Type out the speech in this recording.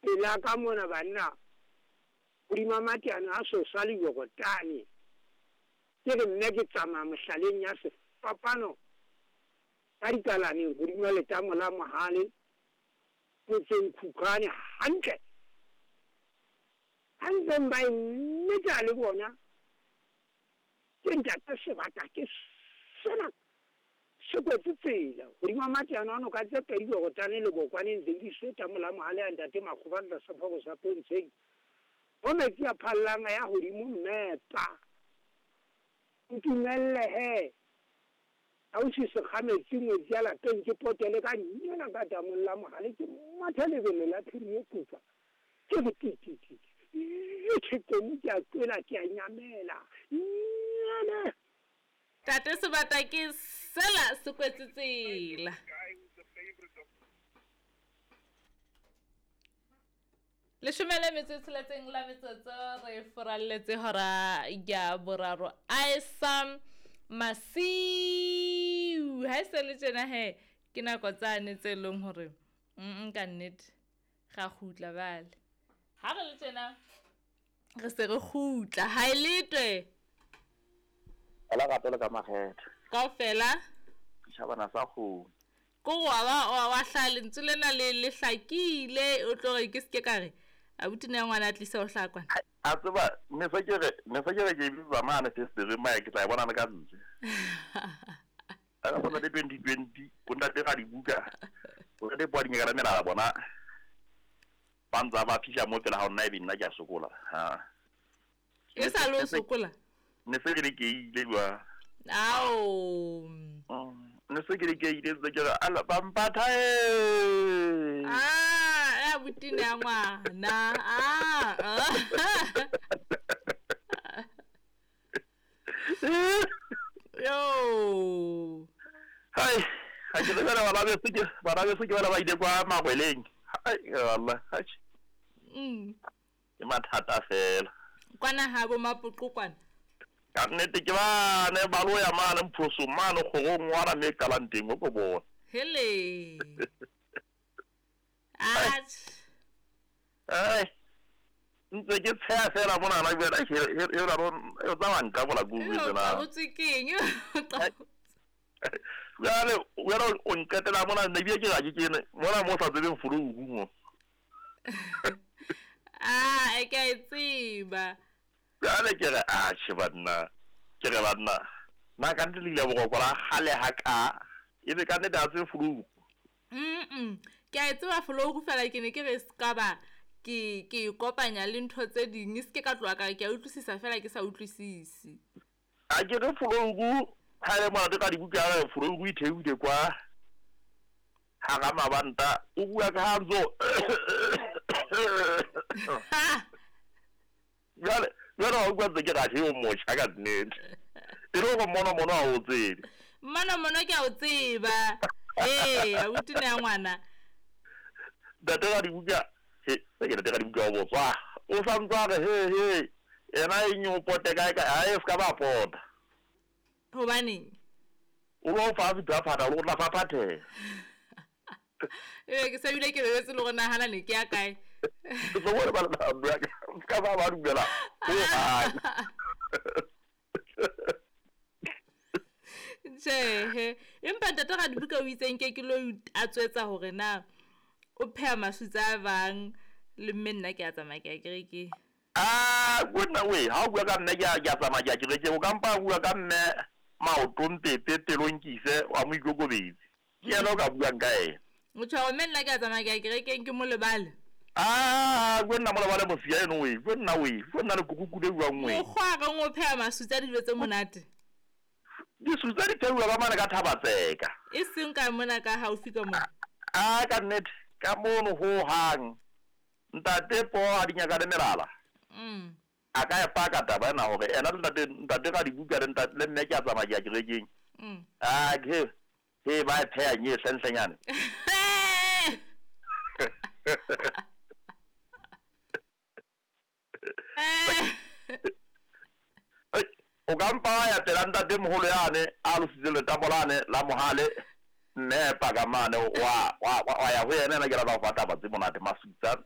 Pela ka mona banna, hodima mateano a Sosa le Jorodane. Ke re mme ke tsamaya mohlaleng ya sefapano ka dikalaneng hodima letamo la Mohale, motseng Khukhwane hantle. Ha ntseng ba e meta le bona, ke ntate sebata ke sena se kwetse tsela hodima mateano a noka tse pedi Jorodane le Bokwaneng Zeidiswe tamo la Mohale a ntate Makgoba tlasa phobo sa Pontsheng. Mo metsi a phallang a ya hodimo mmepa. Ntumelle he, ausi Sekgametsi ngwetsi ya lapeng ke potele ka nyana ka damong la Mohale ke mathe lebelo la phiri ye putswa. Ke re ti ti ti ti. Yethe komu ke a kwela ke a nyamela. Nyane! Tate Sebata ke sela se kwetse tsela. Leshome le metso e tsheletseng la metsotso re foralletse hora ya boraro a e sa masiu ha e se le tjena he ke nako tsane tse leng hore ka nnete ga kgutla bale ha re le tjena re se re kgutla ha e letwe Fela gape le ka makgetho. Kaofela. Setšhabana sa kgomo. Ko wa ba wa wa hlaha lentswe lena le le hlakile o tlo re ke seke ka re abuti ne ya ngwana a tlisa o hlaha kwana. A tseba ne se ke re ne se ke re ke bitsa mane festereng maya ke tla e bona le ka ntle. A ka bona le 2020 o ntate ga dibuka o ntate poa dinyaka la melala bona ba ntsa ba fihla mo pele ga nna ebe nna ke a sokola ha. E sa le o sokola? Ne se ke le ke ile jwa. Ao. Ne se ke le ke ile tse ke re ala ba mpatha e. Ah, ya butine ya ngwana. Ah. Yo. Hai, ha ke lebela bana beso ke bana beso ke bana ba ile kwa magweleng. Hai, Allah. Hai. Ke mathata fela. Kwana ha bo mapoqo kwana. Ka nnete ke bane ba lo ya mane mphosong mane kgorong ngwana me qalang teng o ko bona. Hele. Atjhe. Ai. Ntse ke tsheha fela monana jwale e la o tsamaya nka bola ko utlwe tsena. O tswe keng? Jwale jwale o nqetela mona ne bile ke ga ke kene mona mo sa tsebeng fologu mo. Ah, e ke a e tseba. Jwale ke re atjhe banna, ke re banna, na ka nnete le ile boroko la kgale ha ka, ebe ka nnete ha tsebe fologu. Ke a e tseba fologu fela ke ne ke re ska ba ke ke e kopanya le ntho tse ding, e se ke ka tloha ka re ke a utlwisisa fela ke sa utlwisise. A ke re fologu ha e le monate ka dibuka re fologu e theohile kwa hara mabanta o bua ka ha ntso jwale jwale wa utlwa ntse ke ra o motjha ka nnete e le gore mono mono ha o tsebe mono mono ke a o tseba ee abuti ne ya ngwana ntate ga dibuka he se ke ntate ga dibuka o botswa o sa ntse a re he he ena e nyo pote kae kae ha e se ka ba pota hobaneng o lo fa fitha phata o tla faphatheha ee ke sa bile ke lebetse le gore nagana ne ke ya kae ke tlo bone ba le ka ba ba dumela tjhehe empa ntate ga dibuka o itseng ke ke lo a tswetsa hore na o pheha masutsa a bang le mme nna ke a tsamaya ke ya kerekeng a nna we ha o bua ka mme ke a tsamaya ke ya kerekeng o ka mpa bua ka mme maoto mpepe pelong ke ise wa mo ikokobetse ke yena o ka buang ka ena o tjho mme nna ke a tsamaya ke ya kerekeng ke mo lebale a ko nna mo lebale mosia eno we ko nna we ko nna le kukukude buang we mokgwa reng o pheha masutsa dijo tse monate disutsa di pheuwa ka mane ka Thabatseka e seng ka mona ka haufi ka mona a ka nnete ka mono ho hang ntate po a di nyaka le melala a ka e paka taba ena hore ena le ntate ntate ga dibuka le ntate le mme ke a tsamaya ke ya kerekeng a ke he ba e pheha nye hlentlenyane o ka mpa wa ya pela ntate moholo yane a lositse letamo lane la mohale mme paka mane wa ya ho yena ena ke rata ho fa taba tse monate masutsa.